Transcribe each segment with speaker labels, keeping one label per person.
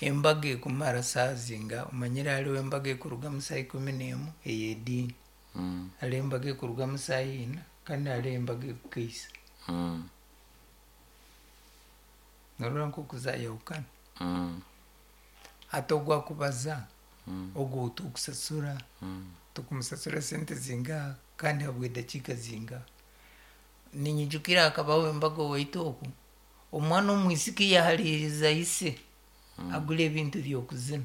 Speaker 1: Embaga ekumara saaha zingaha? Omanyire hariho embaga ekurugamu saaha 11 ey'ediini, hariho embaga ekurugamu saaha 4 kandi hariho embaga ekukeisa. Norora nk'oku zayahukana? Hati ogu akubaza, ogu ou tukusasura, tukumusasura sente zingaha kandi habw'edakiika zingaha? Niinyijukira hakabaho embaga owaitu oku, omwana omwisiki yahariiriza ise agure ebintu by'okuzina.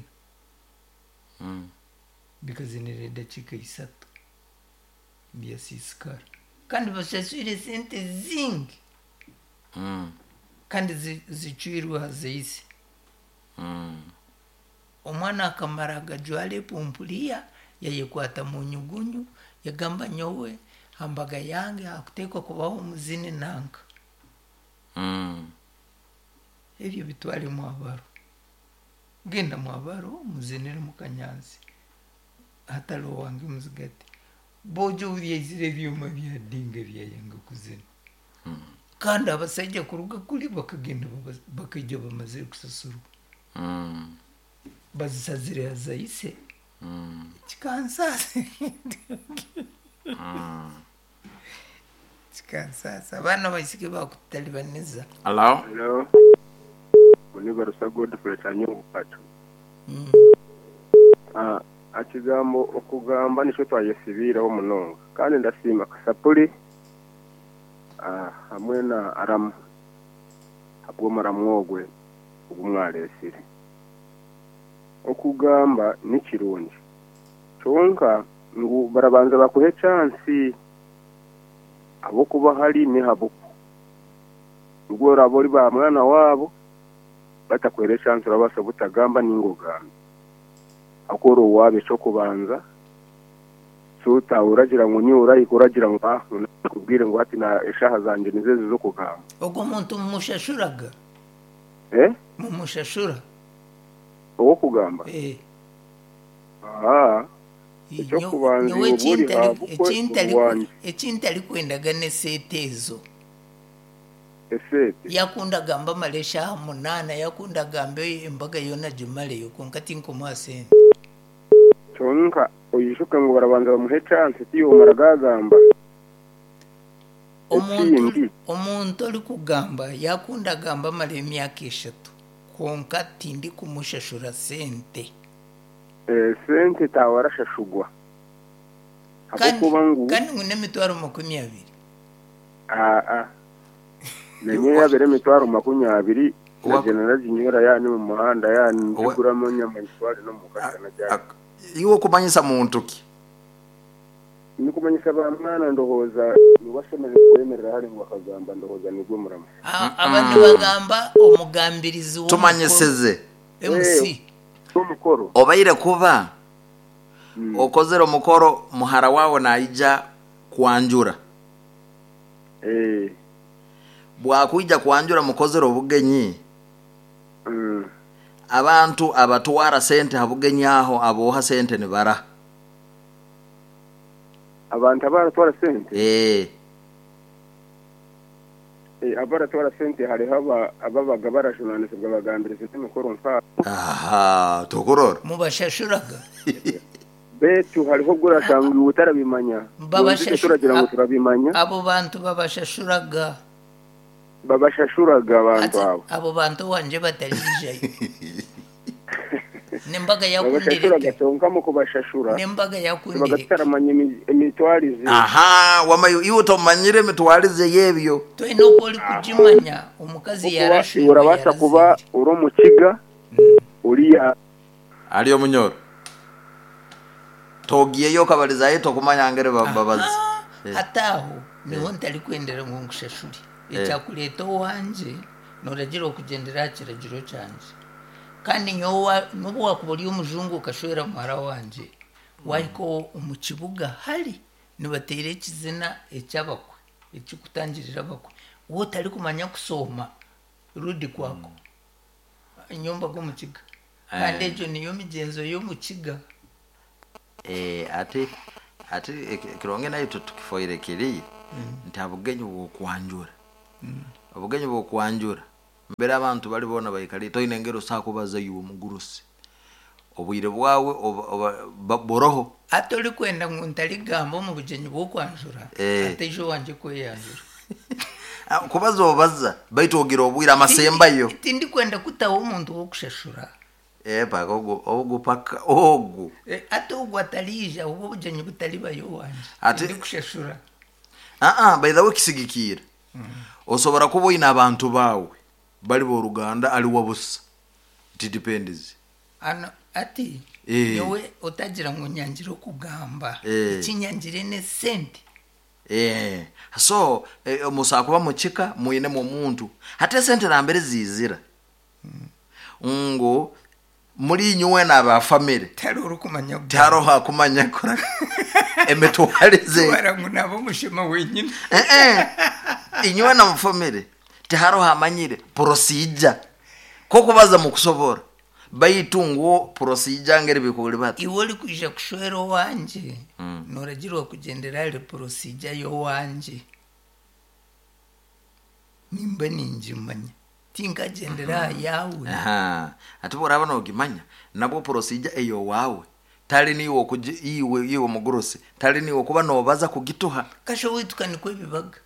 Speaker 1: Bikazinira edakiika 3 byasiisikara. Kandi bashaswire sente zingi kandi zicwirwe ha za ise. Omwana akamara agajwara epumpuriya, yayekwata mu nyugunyu, yagamba nyowe ha mbaga yange hakuteekwa kubaho omuzini nanka. Ebyo bitware mwabaro. Genda mwabaro muzinire mukanyansi hatariho wange muzigati. Boojo obu byaizire ebyoma byadinga byayanga kuzina. Kandi abasaija kuruga kuri bakagenda bakaija bamazire kusasurwa. Bazisazire ha za ise. Kikansaasa. Kikansaasa. Abaana abaisiki bakututalibaniza.
Speaker 2: Hello.
Speaker 3: Hello. Oni Barusa Godfrey Kanyongo Kacu. Ah, Ekigambo okugamba nikyo twayesibiireho munonga kandi ndasiima Kasapuri ah, hamwe na Aramu ahabw'omuramu ogwe ogu mwareetsire. Okugamba ni kirungi kyonka ngu barabanza bakuhe chansi ahabw'okuba hari nihabuku. Nibwo oraabe ori ba mwana waabo batakuhaire chansi orabaasa butagamba ninga ogambe. Ahabw'okuba ori owaabo eky'okubanza so oragira ngu niiwe orahika oragira ngu ah nakubwire ngu hati eshaaha zangye nizo ezi z'okugamba.
Speaker 1: Ogwo muntu mumushashuraga?
Speaker 3: Eh?
Speaker 1: Mumushashura?
Speaker 3: Ow'okugamba?
Speaker 1: Eh.
Speaker 3: Ahaa. Eky'okubanza
Speaker 1: Nyowe
Speaker 3: iwe oba ori habukwe ori wangye.
Speaker 1: Eki ntarikwendaga n'eseete ezo.
Speaker 3: Eseete?
Speaker 1: Yakunda agambe amare eshaaha 8, yakunda agambe embaga yoona agimareyo kwonka tinkumuha sente.
Speaker 3: Kyonka oijuke ngu barabanza bamuhe chance tiiwe omara gaagamba. Ekindi.
Speaker 1: Omuntu orikugamba yakunda agambe amare emyaka 3 kwonka tindikumushashura sente.
Speaker 3: Esente taawe arashashurwa ahabw'okuba ngu.
Speaker 1: Kandi ngu n'emitwaro 20.
Speaker 3: Aa, nanye yaaba eri emitwaro 20 nagyenda naginywera yaaba ni omu muhanda yaaba ningiguramu enyama ngitware n'omuka kashana ryari.
Speaker 2: Iwe okumanyisa muntu ki?
Speaker 3: Nikumanyisa ba mwana ndowooza niwe ashemereire kwemerera hare ngu akagamba ndowooza nigwe muramu.
Speaker 1: Aba nibagamba omugambirizi w'omukoro,
Speaker 2: Tumanyisize.
Speaker 1: MC.
Speaker 3: Omukoro.
Speaker 2: Obaire kuba okozire omukoro muhara waawe naija kwanjura. Bwakwija kwanjura mukozire obugenyi, abantu abatwara sente ha bugenyi aho abooha sente nibaraha?
Speaker 3: Abantu abaratwara sente?
Speaker 2: Eeh.
Speaker 3: Abaratwara sente hariho ababaga barajunanizibwa bagambirizi b'emikoro nk'abo.
Speaker 2: Ahaa, tokurora.
Speaker 1: Mubashashuraga?
Speaker 3: Beitu hariho obu orashanga iwe otarabimanya. Mbwenu itwe turagira ngu turabimanya.
Speaker 1: Abo bantu babashashuraga?
Speaker 3: Babashashuraga abantu
Speaker 1: Hati
Speaker 3: abo.
Speaker 1: abo bantu owangye batariijayo. N'embaga
Speaker 3: Babashashuraga
Speaker 1: yakundireke.
Speaker 3: kyonka omu kubashashura
Speaker 1: N'embaga
Speaker 3: tubaga
Speaker 1: yakundireke.
Speaker 3: tutaramanya emitwarize.
Speaker 2: Ahaa, wama iwe tomanyire emitwarize y'ebyo.
Speaker 1: Twena oku orikugimanya, omukazi
Speaker 3: Ahabw'okuba iwe
Speaker 1: yarashwerwa
Speaker 3: orabaasa kuba
Speaker 1: yarazaire.
Speaker 3: ori omukiga oriya.
Speaker 2: Ari omunyoro. Togiyeyo okabarizayo tokumanya ngeri babazi.
Speaker 1: Ahaa, hati aho niho ntarikwendera ngu nkushashure. Ekyakureeta owangye, nooragira okugyendera aha kiragiro kyangye. Kandi nyowe n'obu waakuba ori omujungu okashwera muhara wangye, waahika omu kibuga hari nibateera ekizina eky'abakwe, ekirikutangirira abakwe, waaba otarikumanya kushooma rudi kwako, nyowe mbaga omu kiga. Kandi egyo niyo migyenzo y'omu kiga.
Speaker 2: Ati ati ekirungi naitwe tukifoire kiri nti aha bugenyi bw'okwanjura, obugenyi bw'okwanjura. Mbere abantu bari boona baikariire toine ngeri osobola kubaza iwe omugurusi. Obwire bwawe oba- oba- ba- buroho.
Speaker 1: Ati orikwenda ngu ntarigamba omu bugyenyi bw'okwanjura, ataija owangye kweyanjura.
Speaker 2: Ah, kubaza obaza baitu ogira obwire amasembayo.
Speaker 1: Tindikwenda kutaho omuntu w'okushashura.
Speaker 2: Eh, paka ogu ogu paka ogu.
Speaker 1: Ati ogwo atariija, obwo obugyenyi butaribayo owangye. Tindikushashura.
Speaker 2: Aa, by the way kisigikiire. Osobora kuba oine abantu baawe bari b'oruganda ari wabusa. It depends.
Speaker 1: Ano ati nyowe otagira ngu nyangire okugamba. Eki nyangire n'esente.
Speaker 2: So musobola kuba mukika mwinemu omuntu. Hati esente nambere ziizira ngu muri inywe n'aba family.
Speaker 1: Tihariho orikumanya kugamba.
Speaker 2: Tihariho akumanya kora emitwarize.
Speaker 1: Twara ngu naaba omushema wenyine.
Speaker 2: Inywe na mu family tihariho amanyire procedure. Kokubaza mukusobora. Baitu ngu procedure ngeri bikuri bata.
Speaker 1: Iwe orikwija kushwera owangye, noragirwa kugyendera ahari procedure y'owangye. Nimba ningimanya. Tinkagyendera aha yaawe.
Speaker 2: Aha. Ati boraba nogimanya, nabwo procedure ey'owaawe tari niiwe okugi iwe iwe omugurusi tari niiwe okuba nobaza kugituha.
Speaker 1: Kasha owaitu ka nikwo bibaga.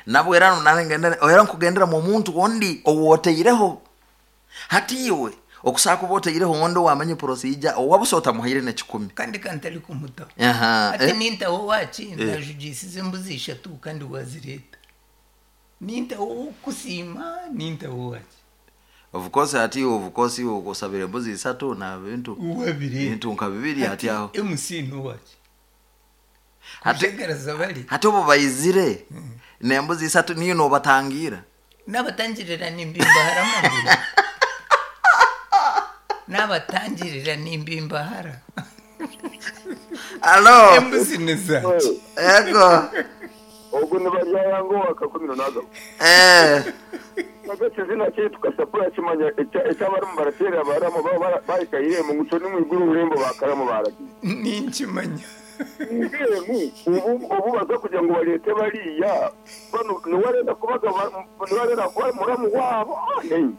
Speaker 2: Nabwo era nangenda era nkugendera mu muntu ondi owoteireho. Hati iwe okusobola kuba oteireho ondi owamanya procedure owabusa otamuhaire n'ekikumi.
Speaker 1: Kandi ka ntari kumutaho. Hati nintaho owaki ndajugiisize embuzi ishatu kandi wazireeta. Nintaho ow'okukusiima, nintaho owaki.
Speaker 2: Of course hati iwe of course iwe osabire embuzi isatu na bintu
Speaker 1: Wabireeta.
Speaker 2: bintu nka bibiri hati aho.
Speaker 1: MC n'owaki.
Speaker 2: Hati
Speaker 1: Kujagaraza bari.
Speaker 2: hati obu baizire n'embuzi isatu niyo nobatangira.
Speaker 1: Nabatangirira nimbimbahara amaguru. Nabatangirira nimbimbahara.
Speaker 2: Alo.
Speaker 1: Embuzi ni zaki.
Speaker 2: Ego.
Speaker 3: Ogu nibaryaya ngu owakakumiro nagaruka. Nabwo ekizina kyaitu kasapura kimanya eki abarimu barateerera baramu baba bahika eirembo ngu turi omwiguru orurembo bakaramu baragiire.
Speaker 1: Ninkimanya.
Speaker 3: Mbwenu obu obu baza kugira ngu bareete bariya banu niwe arenda kubaga niwe arenda kuba muramu waabo ah nei.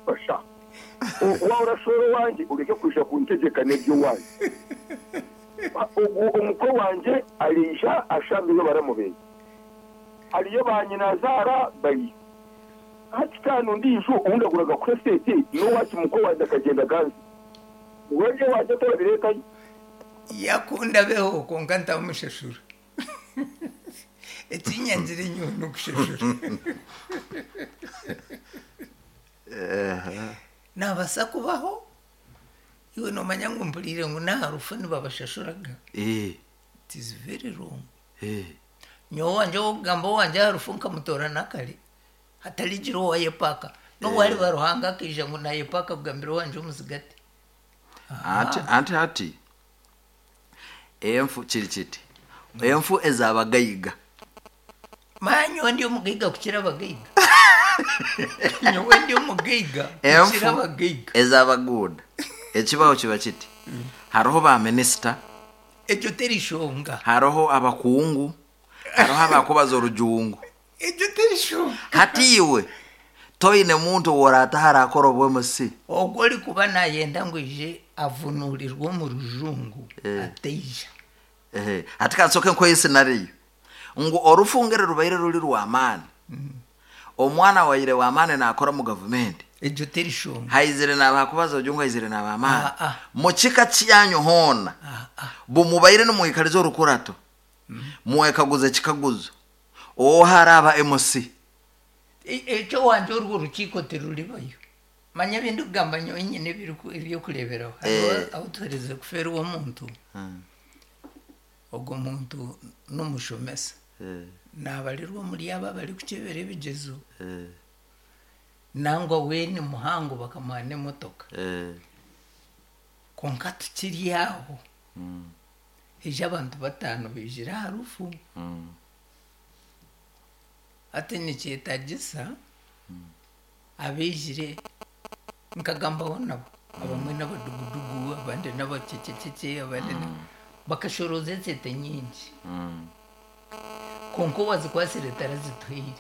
Speaker 3: Basha waaba orashwera owangye oreke kwija kuntegyeka n'eby'owanyu. Ogu omukwe wangye ariija ashangeyo baramu be. Hariyo ba nyinazaara bariyo. Hati kandi ondiijo ou ndaguraga kuha esente n'owaaki mukwe wangye akagyenda akansiga. Iwe eby'owangye torabireetayo.
Speaker 1: Yakunda abeho kwonka ntamushashura. Ekinyangire nyowe n'okushashura. Naabaasa kubaho, iwe noomanya ngu mpuriire ngu n'aha rufu nibabashashuraga. It is very wrong. Nyowe owangye ow'okugamba owangye aha rufu nkamutoora nakare, hatarigira owayepaaka. N'obu hariba Ruhanga akaija ngu naayepaaka kugambira owangye omuzigati.
Speaker 2: Anti anti hati enfu kiri kiti, enfu ez'abagaiga.
Speaker 1: Manya nyowe ndi omugaiga kukira abagaiga. Nyowe ndi omugaiga kukira
Speaker 2: Enfu
Speaker 1: abagaiga.
Speaker 2: ez'abaguuda ekibaho kiba kiti, hariho ba minisita,
Speaker 1: Egyo teri shonga.
Speaker 2: Hariho abakungu, hariho abakubaza orujungu.
Speaker 1: Egyo teri shonga.
Speaker 2: Hati iwe toine muntu ou oraataho araakora obu MC?
Speaker 1: Ogwo orikuba naayenda ngu aije avunuurirwe omu rujungu ataija.
Speaker 2: Hati ka nsooke nkuhe scenario ngu orufungire rubaire ruri rw'amaani, omwana waire w'amaani naakora omu gavumenti.
Speaker 1: Egyo teri shonga.
Speaker 2: Haizire naabakubaza ojungu haizire naab'amaani. Mu kika kyanyu hoona, bumubaire nimwikariza orukurato, mwekaguza ekikaguzo, Oha araaba MC?
Speaker 1: Eky'owangye orwo orukiiko tiruribayo. Manya ebi ndikugamba nyowe nyine eby'okureeberaho. Hariho ahu tuherize kufeerwa omuntu, ogwo muntu n'omushomesa. Naabarirwa omuri abo abarikukyebera ebigyezo. Nangwa we ni muhango bakamuha n'emotoka. Kwonka tukiri aho, haija abantu bataano baijire aha rufu. Hati nikyetagisa abaijire nkagambaho nabo, abamwe n'abadugudugu, abandi n'abacececece, abandi bakashorooza esente nyingi. Kwonka owazikwatsire tarazituhaire.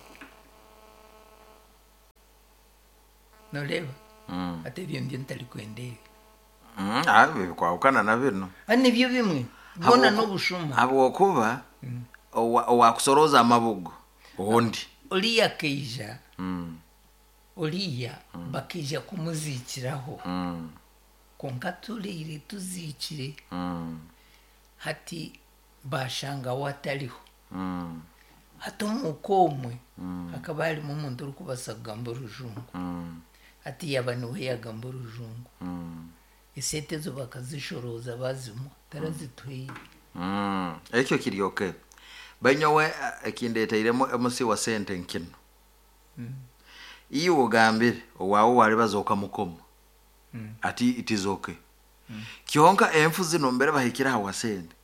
Speaker 1: Noreeba? Hati ebyo nibyo ntarikwenda ebyo.
Speaker 2: Ah, bikwahukana na binu.
Speaker 1: Ah, nibyo bimwe. Bwona n'obushuma.
Speaker 2: Habwokuba owakusorooza amabugo ondi.
Speaker 1: Oriya akaija, oriya bakaija kumuziikiraho. Kwonka turiire tuziikire, hati baashanga we atariho. Hati omuka omwe hakaba harimu omuntu orikubaasa kugamba orujungu. Hati yaaba niwe yaagamba orujungu. Esente ezo bakazishorooza baazimuha, tarazituhaire.
Speaker 2: Ekyo kiri okay. Banyowe ekindeteiremu omusi wa sente nkino. Iwe ogambire owaawe waribaza okamukoma ati it is okay. Kyonka enfu zinu mbere bahikire aha wa sente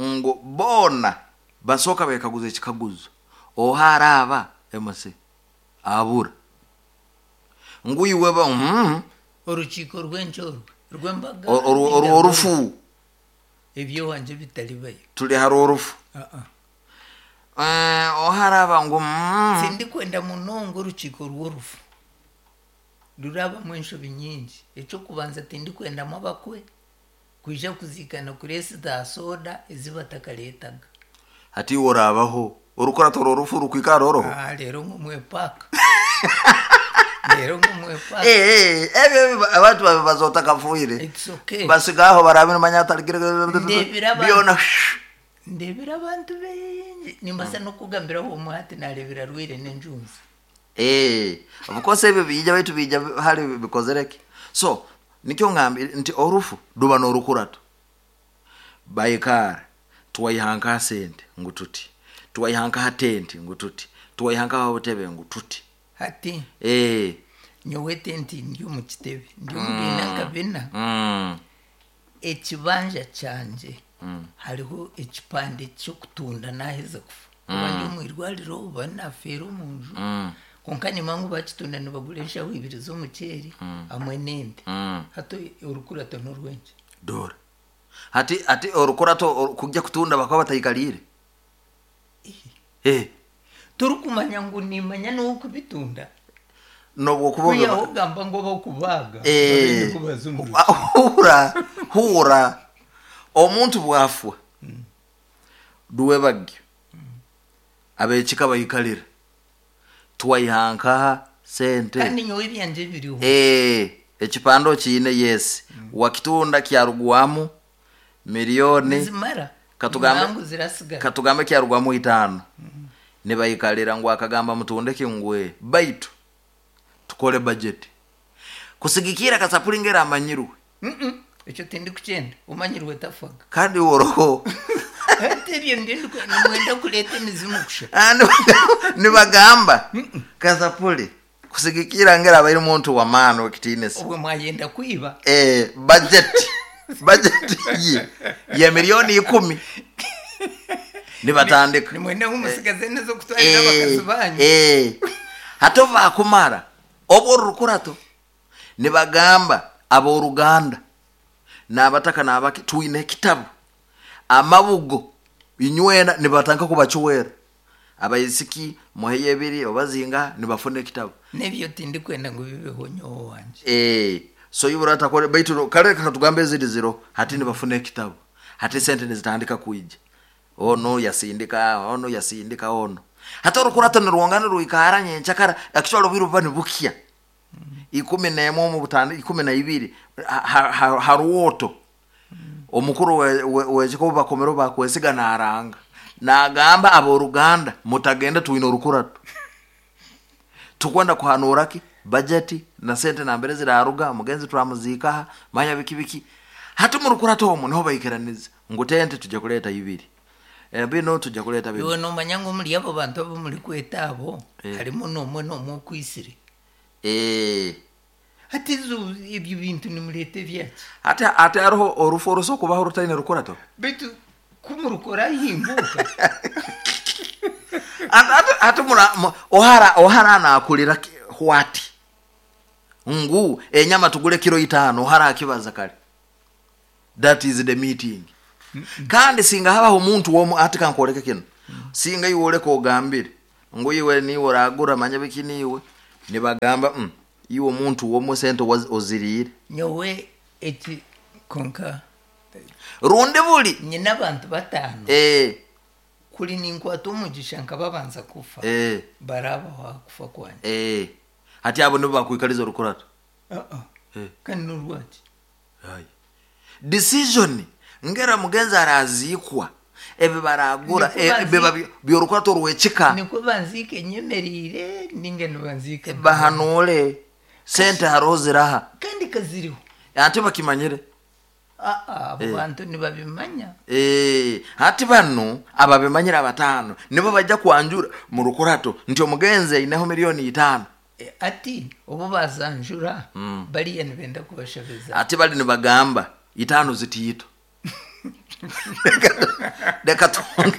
Speaker 2: ngu boona basooka bekaguza ekikaguzo oha araaba MC abura ngu iwe ba
Speaker 1: Orukiiko rw'enki orwo? Rw'embaga?
Speaker 2: Orw'orufu.
Speaker 1: Eby'owangye bitaribayo.
Speaker 2: Turi aha rw'orufu.
Speaker 1: Ah-ah.
Speaker 2: Oha araaba ngu
Speaker 1: Tindikwenda munonga orukiiko rw'orufu. Rurabamu enshobi nyingi. Eky'okubanza tindikwendamu abakwe kwija kuziikana kureesa za soda ezi batakareetaga.
Speaker 2: Hati iwe oraabaho orukurato rw'orufu rukwikara oroho?
Speaker 1: Ah, reero ngu mwepaaka. Reero ngu mwepaaka.
Speaker 2: Ebyo abantu babe baza otakafiire.
Speaker 1: It's okay.
Speaker 2: Basiga aho barabe nimanya atarigire
Speaker 1: Ndeebire abantu.
Speaker 2: byona.
Speaker 1: Ndeebire abantu baingi. Nimbaasa n'okukugambira omwe hati naareebera arwaire n'enjunzi.
Speaker 2: Of course ebyo biija baitu biija hali bikozere ki? So nikyo ngambire nti orufu ruba n'orukurato. Baikaara twaiha nka sente ngu tuti, twaiha nka tenti ngu tuti, twaiha nka obutebe ngu tuti.
Speaker 1: Hati nyowe tenti ndi omu kitebe, ndi omu biina nka bina. Ekibanja kyangye hariho ekipande ky'okutunda naaheza kufa. Oba ndi omu irwariro oba naafeera omu nju. Kwonka nimanya ngu baakitunda nibagura enshaho ibiri z'omuceeri hamwe n'ente. Hati orukurato n'orw'enki?
Speaker 2: Dora. Hati hati orukurato kujya kutunda bakaba bataikariire.
Speaker 1: Torikumanya ngu nimanya n'ow'okubitunda?
Speaker 2: N'obwokuba
Speaker 1: Kwihaho ogamba ngu ab'okubaaga babe nikwo baza omu rukiiko.
Speaker 2: Hura, hura. Omuntu bwafwa, rwebagyo, ab'ekika baikarira, twaiha nkaha sente.
Speaker 1: Kandi nyowe ebyangye biriho.
Speaker 2: Ekipande okiine yes. Wakitunda kyarugwamu milioni.
Speaker 1: Nizimara.
Speaker 2: Katugambe
Speaker 1: Nangu zirasigara.
Speaker 2: Katugambe kyarugwamu itaano. Nibaikarira ngu akagamba mutunde ki ngu ee. Baitu tukore budget. Kusigikira kasapuri ngeri amanyirwe.
Speaker 1: Ekyo tindikukyenda. Omanyirwe tafaga.
Speaker 2: Kandi iwe oroho.
Speaker 1: Hati ebyo nibyo nimwenda kureeta emizimu kusha.
Speaker 2: Ah, nibagamba kasapuri kusigikira ngeri abaire omuntu w'amaani w'ekitiinisa.
Speaker 1: Obwo mwayenda kwiba.
Speaker 2: Budget budget ye ya milioni ikumi. Nibatandika.
Speaker 1: Nimwenda ngu musigaze n'ez'okutwarira abakazi banyu.
Speaker 2: Hati obu baakumara obu orurukurato nibagamba ab'oruganda n'abataka n'abaki twine ekitabu amabugo inywena nibatandika kubacwera abaisiki muheyo ebiri oba zingaha nibafuna ekitabu.
Speaker 1: N'ebyo tindikwenda ngu bibeho nyowe owangye.
Speaker 2: So iwe oratakore baitu kare katugambe eziri ziro hati nibafuna ekitabu hati sente nizitandika kwija onu yasindika onu yasindika onu hati orukurato nirwongana nirwikara nyenkyakara actually obwire buba nibukya ikumi n'emwe omu butandi ikumi na ibiri ha rwoto omukuru w'ekika obu bakomere obu bakwesiga naaranga naagamba ab'oruganda mutagenda twine orukurato tukwenda kuhanuura ki bajeti na sente nambere ziraruga omugenzi turamuziika aha manya biki biki hati omu rukurato omu niho baikiraniza ngu tente tujja kureeta ibiri binu tujja kureeta binu.
Speaker 1: Iwe noomanya ngu omuri abo bantu abu murikweta abo harimu n'omwe n'omwe okwisire. Hati ezo ebyo bintu nimureeta ebyaki?
Speaker 2: Hati hati hariho orufu oruso kubaho rutaine rukurato?
Speaker 1: Beitu ku murukora himbuka.
Speaker 2: Hati hati hati mura ohara ohara nakurira what? Ngu enyama tugure kiro itaano ohara akibaza kare. That is the meeting. Kandi singa habaho omuntu omu hati kankworeke kinu. Singa iwe oreka ogambire ngu iwe niiwe oragura manya biki niiwe nibagamba. Iwe omuntu womwe sente oziriire.
Speaker 1: Nyowe eki konka
Speaker 2: Rundi buri.
Speaker 1: Nyine abantu bataano.
Speaker 2: Eh.
Speaker 1: Kuri ninkwata omugisha nkababanza kufa.
Speaker 2: Eh.
Speaker 1: Barabaho aha kufa kwangye.
Speaker 2: Eh. Hati abo nibo bakwikariza orukurato.
Speaker 1: Uh-uh.
Speaker 2: Eh.
Speaker 1: Kandi n'orwaki?
Speaker 2: Aye. Decision ngera mugenzi araziikwa ebi baragura
Speaker 1: Nikwo
Speaker 2: biba by'orukurato rw'ekika.
Speaker 1: Nikwo banziike nyemereire ninga nibanziika
Speaker 2: Bahanuure sente hariho ziraha.
Speaker 1: Kandi kaziriho.
Speaker 2: Ate bakimanyire.
Speaker 1: Aa, abo bantu nibabimanya.
Speaker 2: Eh, hati banu ababimanyire abataano nibo bajja kwanjura mu rukurato nti omugenzi aineho miliyoni itaano.
Speaker 1: Ati obu bazanjura bariya nibenda kubashabiza.
Speaker 2: Ati bari nibagamba itaano zitiito. Reka twonge.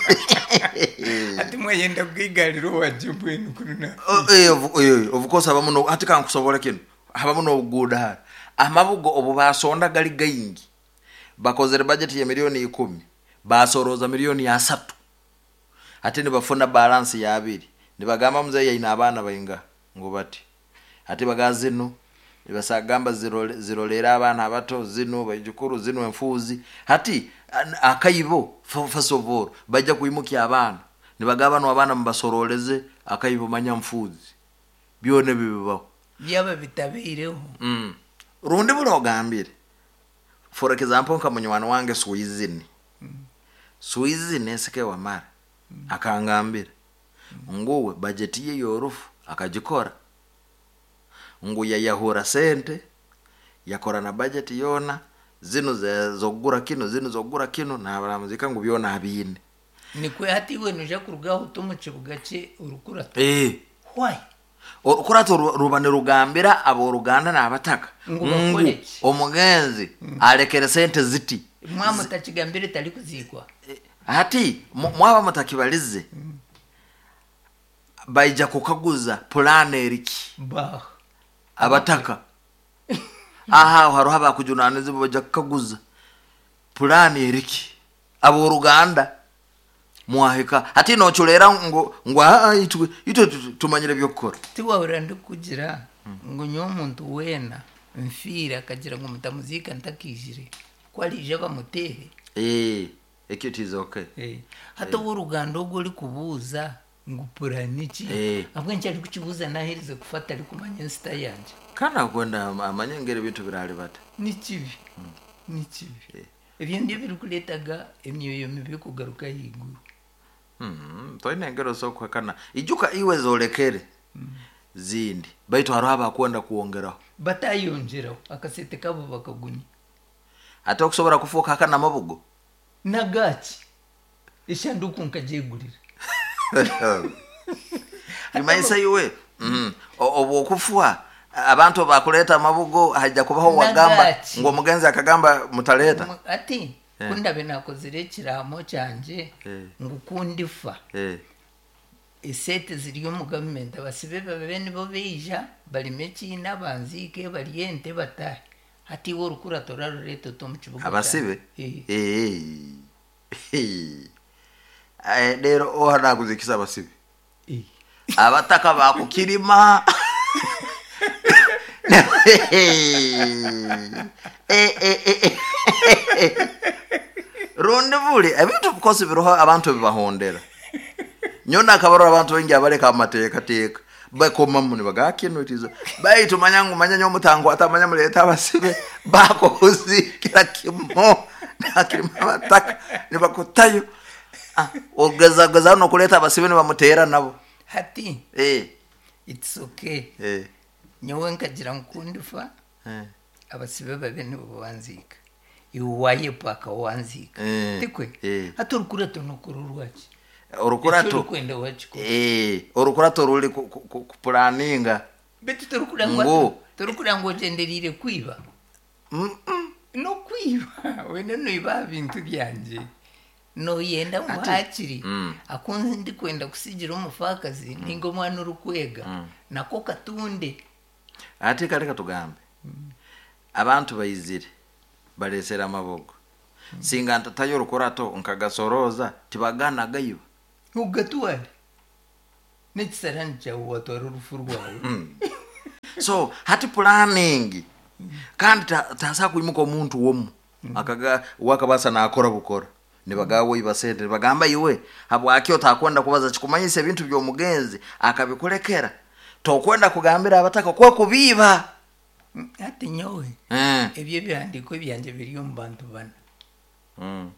Speaker 1: Ati mwayenda kwigarira owagye mbwenu kuri na.
Speaker 2: Of course habamu no ati kankusobora kinu. Habamu n'obuguuda hara. Amabugo obu basonda gari gaingi. Bakozere budget ya miliyoni 10. Basoroza miliyoni 3. Ate nibafuna balance ya 2. Nibagamba mzee yaina abaana bainga ngu bati. Ate baga zino nibasagamba zirolera abaana abato zino baijukuru zino enfuuzi. Hati akaibo first of all bajja kuimukia abaana. Nibagamba no abaana mubasoroleze akaibo manya mfuuzi. Byone bibibaho.
Speaker 1: Byaba bitabeireho.
Speaker 2: Rundi buri ogambire. For example nka munywani wange Swizini. Swizini esike wamara. Akangambira. Nguwe budget ye yorufu akagikora. Ngu yayahura sente yakora na budget yona zino zogura kino zino zogura kino na baramuzika ngu byona abine.
Speaker 1: Nikwe hati iwe nuja kurugaho to mu kibuga kye orukurato. Why?
Speaker 2: Orukurato ruba nirugambira aboruganda n'abataka.
Speaker 1: Ngu
Speaker 2: Ngu
Speaker 1: bakore ki?
Speaker 2: omugenzi alekere sente ziti.
Speaker 1: Mwa mutakigambire tari kuzikwa.
Speaker 2: Hati mwaba mutakibalize. Baija kukaguza plan eriki.
Speaker 1: Bah.
Speaker 2: Abataka. Aha hariho abakujunaniza baija kukaguza plan eriki. Aboruganda mwahika hati nochulera ngu itwe tumanyire byokukora.
Speaker 1: Tiwahurira ndikugira ngu nyowe omuntu weena nfiire akagira ngu mutamuzika ntakijire ko arije bamuteere.
Speaker 2: Ekyo it is okay.
Speaker 1: Hati ow'oruganda ogwo orikubuuza ngu purani ki? Ahabw'enki arikukibuuza naaherize kufa atarikumanya ensita yangye?
Speaker 2: Kandi akwenda amanye engeri ebintu biraribata.
Speaker 1: Ni kibi. Ni kibi. Ebyo nibyo birikureetaga emyoyo mibi kugaruka ahaiguru.
Speaker 2: Toine engeri osobola kuhakana. Ijuka iwe zorekere zindi. Baitu hariho abakwenda kwongeraho.
Speaker 1: Batayongyeraho akasente kabo bakagunya.
Speaker 2: Ate okusobola kufuuka haka n'amabugo?
Speaker 1: Nagaki? Eshanduku nkagyegurira.
Speaker 2: Imaisa iwe. Obwo okufa abantu bakuleta amabugo hajja kubaho wagamba
Speaker 1: Nagaki.
Speaker 2: ngo omugenzi akagamba mutaleta.
Speaker 1: Ati kundabe nakozire ekiraamo kyangye ngu kundifa. Esente ziri omu gavumenti abasibe babe nibo beija barime ekiina banziike barye ente batahe. Hati iwe orukurato orarureeta ota omu kibuga
Speaker 2: Abasibe?
Speaker 1: kyange.
Speaker 2: Rero oha nakuzikisa abasibe. Abataka bakukirima. Rundi buri ebintu bikosi biriho abantu bibahondera. Nyona akabarora abantu bengi abareka amateeka teeka. Bakomamu nibaga kino itizo. Baitu manyangu manya nyomutango atamanya muleta abasibe bakuzikira kimo. Nakirima abataka nibakutayo. Ogeza geza no kuleta abasibe nibamutera nabo.
Speaker 1: Hati. It's okay. Nyowe nkagira nkundifa. Abasibe babe nibo banzika. Iwe wayepa wanzika. Tikwe. Hati orukurato nokora orwaki?
Speaker 2: Orukurato.
Speaker 1: Ekyo orikwenda wakikora.
Speaker 2: Orukurato ruri kupulaninga.
Speaker 1: Beitu
Speaker 2: Ngu.
Speaker 1: torikura ngu ogyendereire kwiba. Nokwiba. Wena noiba aha bintu byangye. Noyenda ngu hakiri. Akunze ndikwenda kusigira omufaakazi ninga omwana orikwega. Nako katunde.
Speaker 2: Ate kare katugambe. Abantu baizire baresera amabogo. Singa ntatayo orukurato nkagasoroza tibagana gayiba.
Speaker 1: Ugatware. N'ekisarani kyawe watwara orufu rwawe.
Speaker 2: So hati planning kandi taasa kwimuka omuntu womu akaga wakabaasa nakora bukora nibagawa iba sente nibagamba iwe habwaki otakwenda kubaza kikumanyisa ebintu by'omugenzi akabikulekera tokwenda kugambira abataka kwe kubiiba.
Speaker 1: Hati nyowe ebyo ebihandiiko byangye biri omu bantu bana.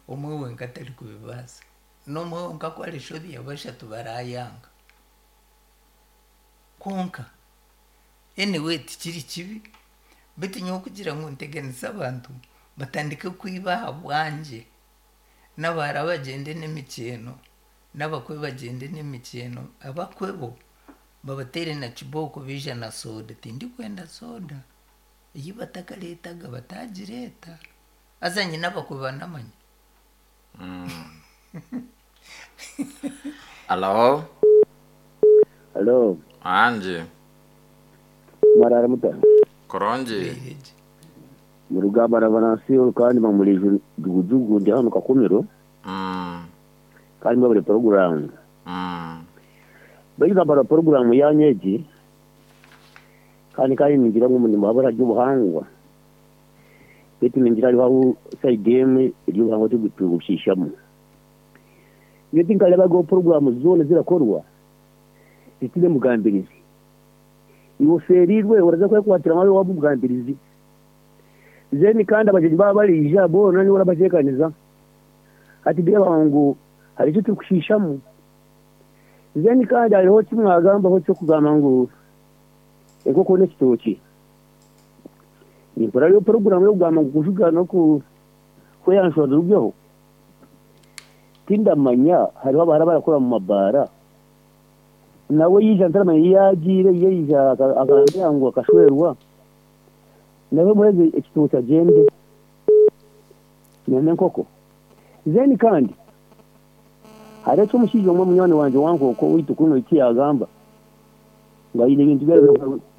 Speaker 1: Omwe wenka atari kubibaasa n'omwe wenka ku arishobya bashatu barayanga. Kwonka anyway tikiri kibi, beitu nyowe kugira ngu nteganise abantu batandike kwiba aha bwangye, n'abahara bagyende n'emikyeno, n'abakwe bagyende n'emikyeno, abakwe bo babateere na kibooko baija na soda. Tindikwenda soda, ei batakareetaga bataagireeta. Haza nyine abakwe banamanya.
Speaker 2: Alo.
Speaker 4: Alo.
Speaker 2: Ange.
Speaker 4: Mwarara muta?
Speaker 2: Kurungi.
Speaker 4: Murugamba na Venansiyo kandi bamuri Jugujugu ndi hano Kakumiro. Kandi mwebare poroguramu. Baitu nambara poroguramu yanyu egi kandi kandi ningira ngu nimuhabura ry'obuhangwa. Baitu ningira hariho ahu sayidi emwe ery'obuhangwa turikubushiishamu. Nyowe tinkareebaga poroguramu zoona ezirakorwa zitaine mugambirizi. Iwe ofeereirwe oraza kwekwatira waaba omugambirizi. Then kandi abagyenyi baaba bariija boona niiwe orabateekaniza. Hati ndeeba ngu hariho eki turikushiishamu. Then kandi hariho eki mwagambaho eky'okugamba ngu enkoko n'ekitookye. Nimpurira hariyo poroguramu y'okugamba ngu kujuga n'okweyanjura zirugyeho. Tindamanya hariho abahara abarakora omu mabaara. Nawe yaija ntaramanya ei yaagiire, yaija akambwira ngu akashwerwa. Nawe muheeze ekitookye agyende n'enkoko. Then kandi hariho eki omushaija omwe munywani wangye wa nkooko owaitu kunu eki yaagamba ngu aine ebintu bi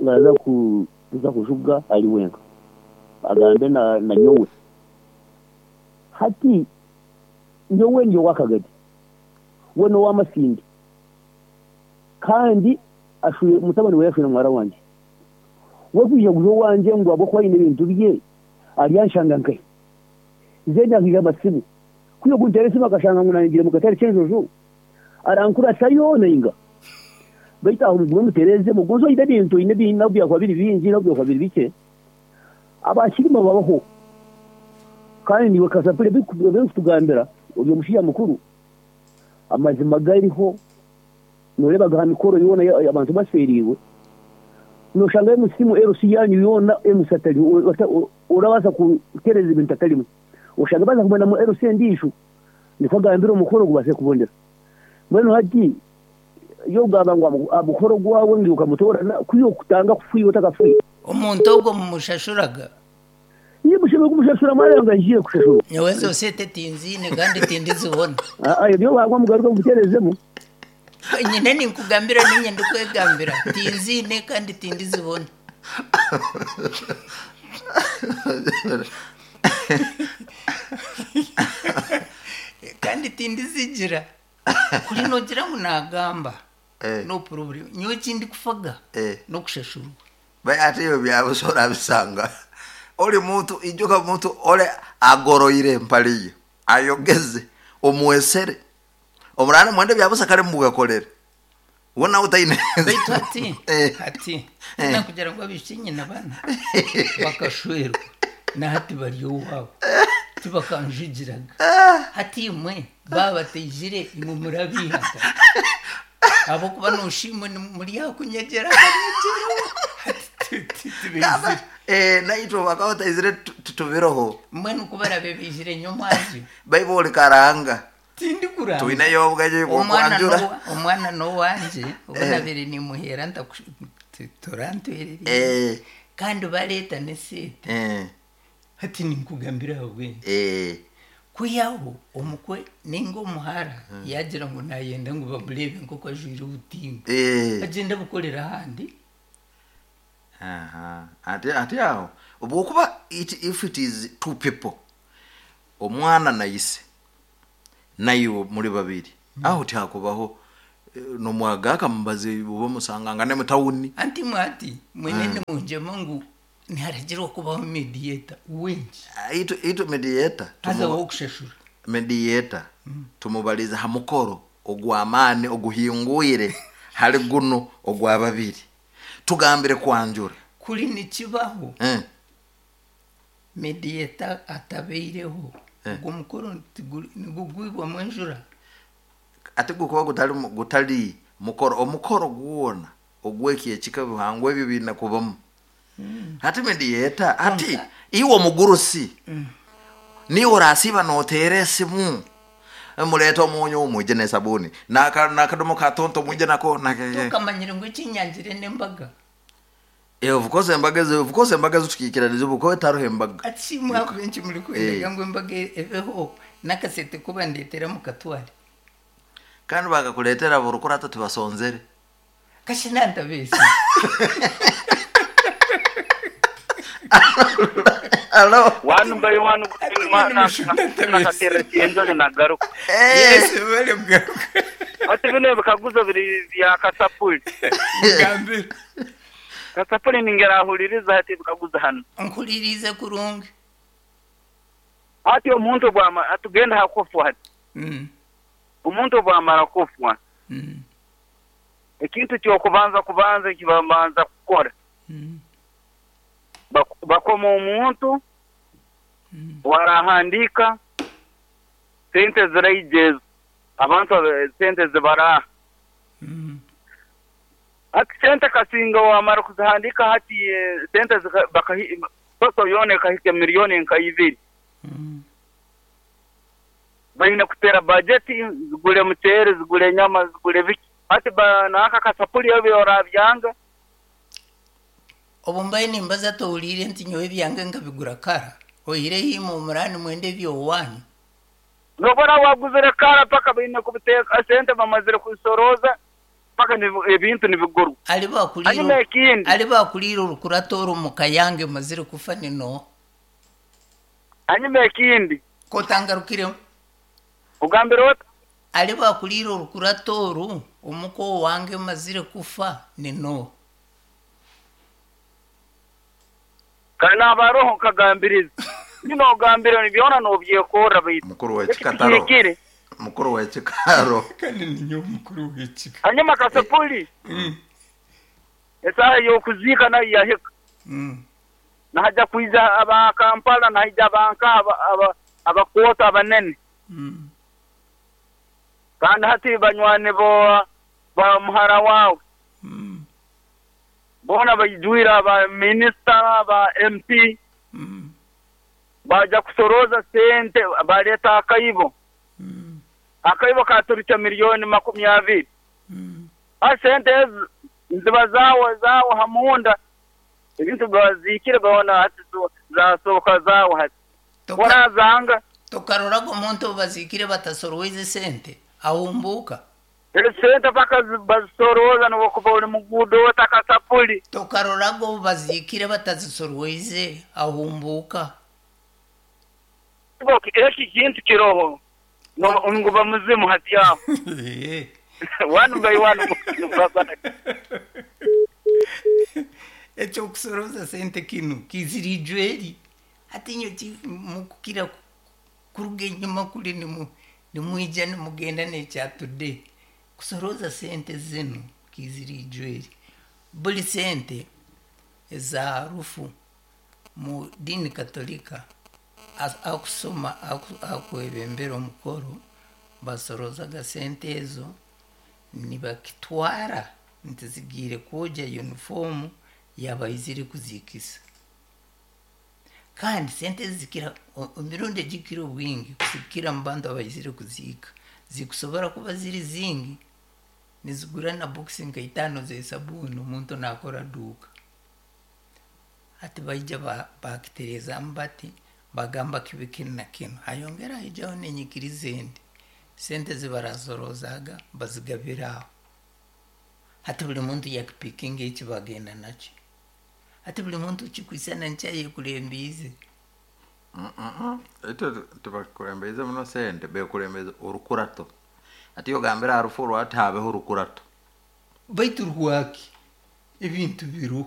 Speaker 4: araza kuza kujuga ari wenka agambe na nyowe. Hati nyowe ndi ow'akagari, we n'ow'amasindi kandi mutabani we ashwire muhara wangye. We kwija kuza owangye ngu ahabw'okuba aine ebintu bye aryanshanga nkahi? Then akaija amasimu. Ku yokunteera esimu akashanga ngu naanye ngiire omu katare k'enjojo, arankuratayo nainga? Beitu aho mugume mutereezemu. Gonza oine ebintu oine nobu byakuba biri bingi nobu byakuba biri bikye, abakirimu babaho. Kandi naiwe kasapuri ebi orikutugambira ori omushaija mukuru, amazima gariho nooreeba aha mikoro yoona abantu bafeereirwe, nooshangayo omu simu LC yaanyu yoona MC atariho, orabaasa kutereeza ebintu atarimu. Oshange baaza kumwendamu LC endiijo nikwo agambire omukoro gubaase kubonera. Mbwenu hati yogamba ngu aha mukoro gwawe ngu okamutoorana ku yokutanga kufa iwe otakafiire.
Speaker 1: Omuntu ogwo mumushashuraga?
Speaker 4: Iwe mushemereire kumushashura mwayanga ngu aije kushashurwa.
Speaker 1: Nyowe ezo sente tinziine kandi tindizibona.
Speaker 4: Aa ebyo wagwa mugaruke mubiteerezemu.
Speaker 1: Nyine ninkugambira niinye ndikwegambira tinziine kandi tindizibona. Kandi tindizigira. Kuri noogira ngu naagamba no problem. Nyowe eki ndikufaga n'okushashurwa.
Speaker 2: Ate ebyo byabusa orabisanga ori muntu ijuka muntu ore agoroire empare ye ayogeze omwesere omurara nimwenda ebyabusa kare mugakorere we nawe taine.
Speaker 1: Beitu hati hati tinakugira ngu abaishiki nyine bana bakashwerwa na hati bari owaabo tibakanjugiraga. Hati imwe baaba bataijire imwe murabiiha nka? Ahabw'okuba noosha imwe muri aha kunyegyera akanyegyero hati tibaizire.
Speaker 2: Naitwe bakaba bataizire titubiroho.
Speaker 1: Mbwenu ku baraabe baijire nyomwazyo.
Speaker 2: Baibu ori karanga.
Speaker 1: Tindikuranga.
Speaker 2: Twineyo obwengye bw'okwanjura.
Speaker 1: Omwana n'owangye obu nabaire nimuheera torantwererire. Kandi bareeta n'eseete. Hati ninkugambira ahabw'enki. Kwihaho omukwe ninga omuhara yaagira ngu naayenda ngu bamureebe nk'oku ajwaire obutimba, agyende abukorere ahandi.
Speaker 2: Hati aho obwokuba if it is two people, omwana na ise naiwe muri babiri, aho tihakubaho Nomwaga akamubazi buba musanganga ne mutawuni.
Speaker 1: Anti mwati mwene nimungyema ngu niharagirwa kubaho mediator wengi.
Speaker 2: Itu itu mediator.
Speaker 1: Haza wokushashura.
Speaker 2: Mediator tumubaliza ha mukoro ogw'amaani oguhingwire hali guno ogwa babiri. Tugambire kwanjura.
Speaker 1: Kuri nikibaho. Mediator atabeireho. Ogwo mukoro nigugwibwamu enjura.
Speaker 2: Ate gukuba gutali mukoro, omukoro gwona ogweki ekika bihangwa ebyo biine kubamu. Hati mediator, hati iwe omugurusi. Niwe orasiiba noteera esimu. Mureeta omunyu mwije n'esabuni. N'akadomo ka tonto mwije nako.
Speaker 1: Tokamanyire ngu ekinyangire n'embaga.
Speaker 2: Of course embaga ezo, of course embaga ezo tukiikiraniza obu kuba etariho embaga.
Speaker 1: Ati shi mwakuba enki muri kwendaga ngu embaga ebeho n'akasente ku bandeetera mukatware.
Speaker 2: Kandi bakakuleetera buri tibasonzere.
Speaker 1: Kashi nantabeesi.
Speaker 2: Hello.
Speaker 5: One by one, nagaruka.
Speaker 1: Yes, bari kugaruka.
Speaker 5: Ati bino ebikaguzo biri bya Kasapuli.
Speaker 1: Mugambire.
Speaker 5: Kasapuli ningerahuliriza hati ebikaguzo hano.
Speaker 1: Nkulirize kurungi.
Speaker 5: Hati omuntu bwama atugenda hakufwa hati. Omuntu bwamara kufwa. Ekintu kyokubanza kubanza ekibabanza kukora. Bakoma omuntu warahandika sente ziraijeza abantu sente zibaraha. Hati sente kasinga wamara kuzihandika hati sente soso yone kahika milioni nka ibiri. Baine kutera bajeti zigule muchere zigule nyama zigule biki. Hati naka Kasapuli ebyo orabyanga.
Speaker 1: Obu mbaye nimbaza towulire nti nyowe ebyange nkabigura kara. Oyireho imwe omurani mwende ebyowanyu.
Speaker 5: Nobona waguzire kara paka baine kubiteeka sente bamazire kusoroza paka ebintu nibigurwa.
Speaker 1: Ali bakulire orukurato oru mukayange mazire kufa nino.
Speaker 5: Hanyuma ekindi.
Speaker 1: Kotangarukiremu.
Speaker 5: Ugambire ota?
Speaker 1: Ali bakulire orukurato oru omuko wange mazire kufa nino.
Speaker 5: Kana abaroho nkagambiriza. Nino ogambire nibyona nobyekora baitu.
Speaker 2: Mukuru w'ekikataro. Mukuru w'ekikaro.
Speaker 1: Kandi ninyo mukuru w'ekika.
Speaker 5: Hanyuma Kasapuli. Esaha y'okuziika nayo yahika. Nahaja kwija aba Kampala nahaja abanka abakoota abanene. Kandi hati banywani bo ba muhara wawe. Bona baijwira aba minister aba MP. Baja kusoroza sente baleta akaibo. Akaibo katurukya milioni 20. Sente ziba zawo hamunda. Ebintu bazikire bona hati zasoka zawo hati. Warazanga
Speaker 1: tokarorago omuntu bazikire batasoroweze sente ahumbuka.
Speaker 5: Sente paka bazisoroza nokuba uri mugudo Kasapuli.
Speaker 1: Tokarorago bazikire batazisoroweze ahumbuka.
Speaker 5: Eki kintu kiroho nguba muzimu hati yaho. One by one.
Speaker 1: Ekyo kusoroza sente kinu kizirijweri. Hati nyo mukukira kuruga enyuma kuri nimwija nimugenda nekyatude. Kusoroza sente zinu kizirijweri. Buli sente eza rufu mu dini katolika akusoma akwebembera omukoro basorozaga sente ezo nibakitwara nti zigiire kwoja yunifomu yabaizire kuzikisa. Kandi sente zikira emirundi egikira obwingi kusikira mu bantu abaizire kuziika zikusobora kuba ziri zingi nizigura na boxi nka 5 z'esabuni omuntu nakora duuka. Hati baija bakitereezamu bati bagamba kibe kinu na kinu. Hayongera haijaho n'enyikiriza endi. Sente zibarasorozaga bazigabira aho. Hati buli muntu yakipikinga eki bagenda nakyo. Hati buli muntu kikwisana nkyayekurembiize.
Speaker 2: Ito tibakurembeize muno sente, bekurembeize orukurato. Ati ogambire aha rufu orwo ati habeho orukurato.
Speaker 1: Baitu rwaki ebintu biriho.